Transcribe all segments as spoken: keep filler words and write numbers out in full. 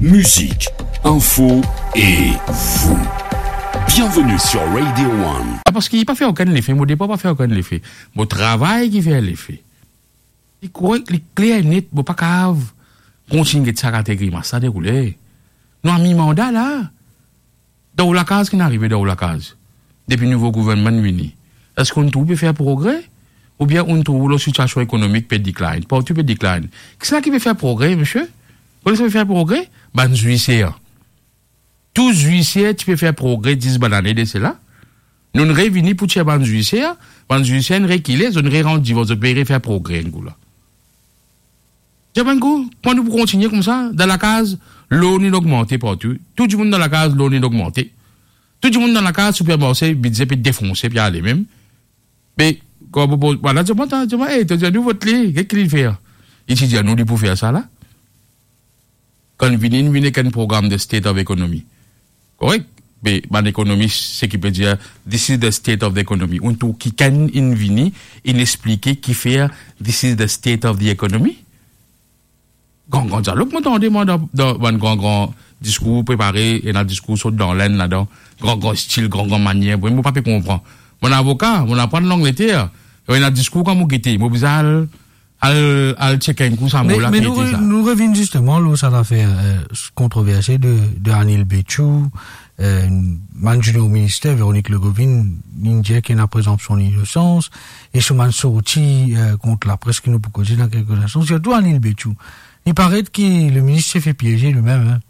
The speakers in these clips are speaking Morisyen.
Mizik, info e vou. Bienvenue sur Radio One. Ah, parski li pa fer okenn lefe, mo depa pa fer okenn lefe. Mo travay ki fer lefe. Li korek, li kler net, mo pa kav kontign get sa kalite grimas la deroule. Nou a mi-manda la. Dan ou lakaz, ki'nn arive dan ou lakaz? Depi nouvo gouvernman vini, eski ou'nn trouv pe fer progre? Oubien ou'nn trouv lor sitiasion ekonomik pe decline? Partou pe decline. Kisannla ki pe fer progre, misie? Kone sannla pe fer progre? Bann zwiser. Tou zwiser ti pe fer progre dis bann ane de sela. Nou'nn revini pou tir bann zwiser, bann zwiser inn rekile, zot inn rerant divors, zot pe refer progre enn kou la. Dir bann kou, kouma nou pou kontigne koumsa? Dan lakaz, lor inn ogmante partou. Tou dimoun dan lakaz, lor inn ogmante. Tou dimoun dan lakaz, sipermarse, bidze pe defonse, pe ale mem. Me, kan mo poz, bann la dir mwa, ta, dir mwa, "Ey, to dir nou vot li, get ki li fer?" Li ti dir nou li pou fer sa la. Kan vini, vini ek enn program de State of Economy. Korek? Me bann ekonomis, seki pe dir, "This is the state of the economy." Ou'nn trouv kikenn inn vini, inn explike kifer, "This is the state of the economy"? Gran, gran dialog, mo tande, mwa, dan, dan bann gran, gran diskour prepare, ena diskour sort dan Lenn ladan, gran, gran stil, gran, gran manier. Mo pa pe konpran. Mo avoka, mo aprann Langleter, ena diskour kan mo gete, mo bizin al, al, al check enn kou sa mo la, me ki nou ete re-, sa. Nou revinn zisteman lor sa lafer, eh, kontroverse de, de Anil Bechoo, eh, bann junior minister, Véronique Legoovin, inn dir ki ena prezonpsion linosans, e so bann sorti, eh, kont lapres ki nou pou koze dan kelke instan, sirtou Anil Bechoo. Li paret ki le minis ti fer pieze limem, hein.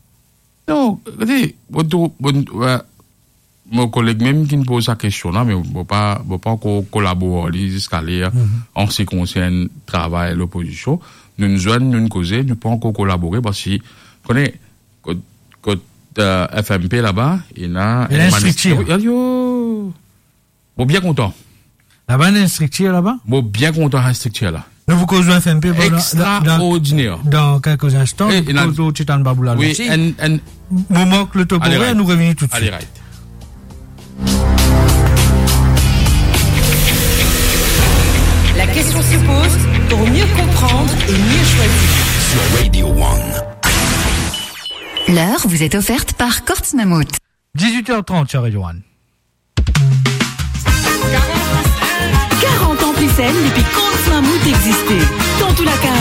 Non, gete, mo trouv, mo, eh, mo koleg mem ki'nn poz sa kestion la, me mo pa, mo pa ankor kolabor ar li ziska ler, mhm, an se ki konsern travay lopozision. Nou'nn zwenn, nou'nn koze, nou pa ankor kolabore, parski, kone, kot, kot, eh, F M P laba, ena, ena enn striktir. Wi, ayo. Mo bien kontan. Laba, ena enn striktir laba? Mo bien kontan enn striktir la. Nou pou koz F M P, bon, dan, dan, dan, extraordiner, dan kelke instan, eh, nou pou koz lor Titan Babou la, wi, osi. Enn, enn, mo mank le topo, ale, right, nou revini toutswit. Ale, right. La question se pose pour mieux comprendre et mieux choisir. Sur Radio One. L'heure vous est offerte par Courts Mammouth. Dix-huit heures trente sur Radio One. Karant an plis enn depi Courts Mammouth existe. Dan tou lakaz,